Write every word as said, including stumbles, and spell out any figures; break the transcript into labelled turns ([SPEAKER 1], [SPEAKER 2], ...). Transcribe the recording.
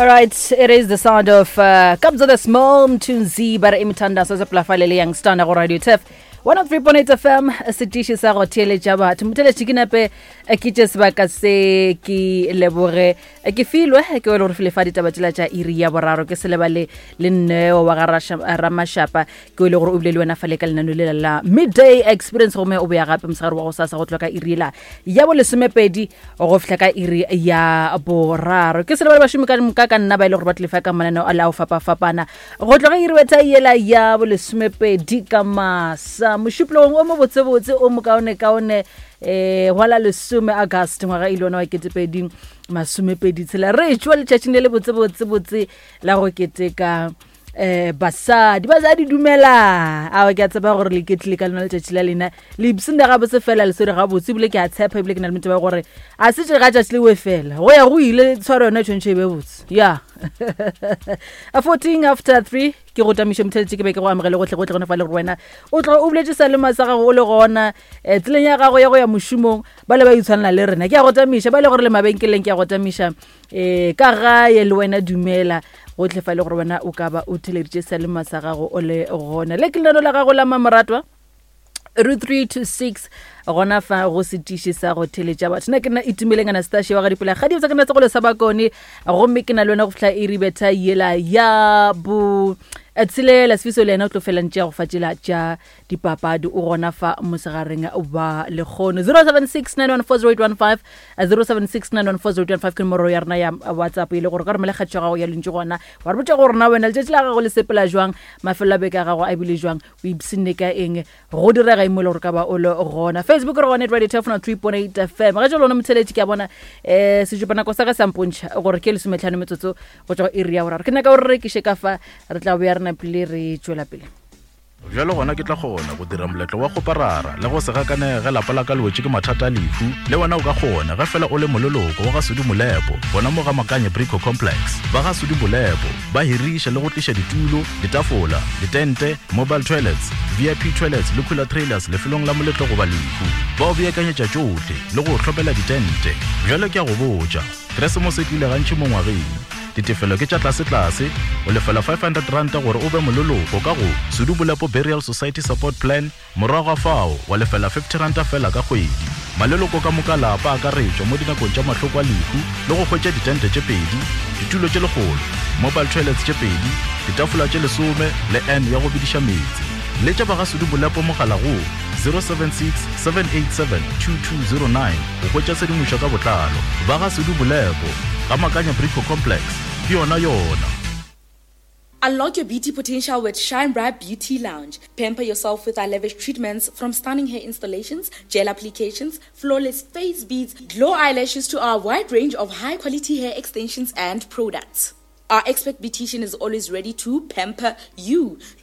[SPEAKER 1] All right, it is the sound of uh, Kabza the Small Mthunzi ba re imithandazo seplafale le Young Stunna go Radio Turf one oh three point eight F M, setiši sa go theeletša batho. Motheletši, ke nape eh, ke tše sebaka se ke leboge eh, ke filwe ke wele gore file fa ditaba tšela tša iri ya boraro. Ke se lebale le nneo wa ga Rasha- Ramašapa, ke wele gore o bile le wena fale ka lenano lela la Midday Experience, gomme o boya gape mosegare wa go sasa go tloga ka iri la ya bolesomepedi go fihla ka iri ya boraro. Ke se lebale bašomi ka moka ka nna ba e le gore ba tlefa ka mananeo a le ao fapafapana go tloga iri betha yela ya bolesomepedi ka masa mošupologong o mobotsebotse o mokaonekaone um wa la lesome August ngwaga e le ona wa ketepedi masomepedi tshela. Re tšwa letšatšing le le botsebotsebotse la go keteka eh basadi. Basadi, dumela. Awa, ke a tseba gore le ketlile ka lona letšatši la lena, le ipsinde gabotse fela, le swere gabotse, ebile ke a tshepa, ebile ke na le meteba gore a se tše ga tšatši le we fela go ya go ile tshwaro yona e tshwanetse e be botse ya a fourteen after three. Ke go tamiše, motheletše, ke be ke go amogele gotlhe gotlhe gone fa le gore wena o tloga o boletse salema sa gago o le gona um tseleng ya gago ya go ya mošomong. Ba le ba itshwanela le rena, ke a go tamiša. Ba le gore le mabenkeleng, ke a go tamiša. um ka gae le wena, dumela gotlhe fa e le gore wena o ka ba o theleditše salema sa gago o le gona. Le ke lenano la gago la mamoratwa ru three to six gona fa go setiši sa go theletša batho. Nna ke nna Itumeleng Anastasia wa gadipela ga dibotsa, ke nna segolo sa Bakone, gomme ke na le wena go fihla iri betha yela ya bo eh, tshelela. Sefiso le yena o tlo felantše go fa tšela tša dipapadi, o gona fa mosegareng wa lekgono. zero seven six nine one four zero eight one five, zero seven six nine one four zero eight one five ke nomoro ya rena ya WhatsApp, e le gore ka romela kgatšo ya gago ya lentšu gona, wa re botša gore na wena letšatši la gago le sepela jwang, mafelo a beke a gago a bile jwang, o ipshinne ka eng, go direga eng mo e le gore ka ba o le gona. Facebook re gone Radio Turf three point eight F M. Ga jalo lona motheletši, ke a bona um sejupanako sa ka sampontšha gore ke lesometlhano metsotso go tšwa go iri ya boraro. Ke nyaka gore re rekiše ka fa, re tla boya re napile re tšwela pele.
[SPEAKER 2] Bjalo gona ke tla kgona go dira moletlo wa go parara le go se gakanege ge lapa la ka le wetše ke mathata a lehu. Le wena o ka kgona ge fela o le moleloko wa ga Sudi Molepo gona mo ga Makanye Brico Complex. Ba ga Sudi Molepo ba hiriša le go tliša ditulo, ditafola, ditente, mobile toilets, V I P toilets le cooler trailers lefelong la moletlo goba lehu. Ba o beakanyetša tšohle le go o hlopela ditente. Bjalo ke a go botša, Keresemose e tlile gantši mo ngwageng. Ditefelo ke tša tlasetlase, o lefela five hundred ranta gore o be moleloko ka go Sudu Bolepo Burial Society Support Plan, morago ga fao wa lefela fifty ranta fela ka kgwedi. Maleloko ka moka lapa akaretšwa mo dinakong tša mahloko a lehu le go hwetša ditente tše pedi, ditulo tše lekgolo, mobile toilets tše pedi, ditafola tše lesome le n ya go bediša meetse. Letša ba ga Sudu Bolepo mogala go zero seven six seven eight seven two two zero nine go hwetša tshedimošo ka botlalo. Ba ga Sudu Bolepo ga Makanya Brico Complex, ke yona yona.
[SPEAKER 3] Unlock your beauty potential with Shine Bright Beauty Lounge. Pamper yourself with our lavish treatments, from stunning hair installations, gel applications, flawless face beads, glow eyelashes to our wide range of high quality hair extensions and products. Our expert beautician is always ready to pamper you.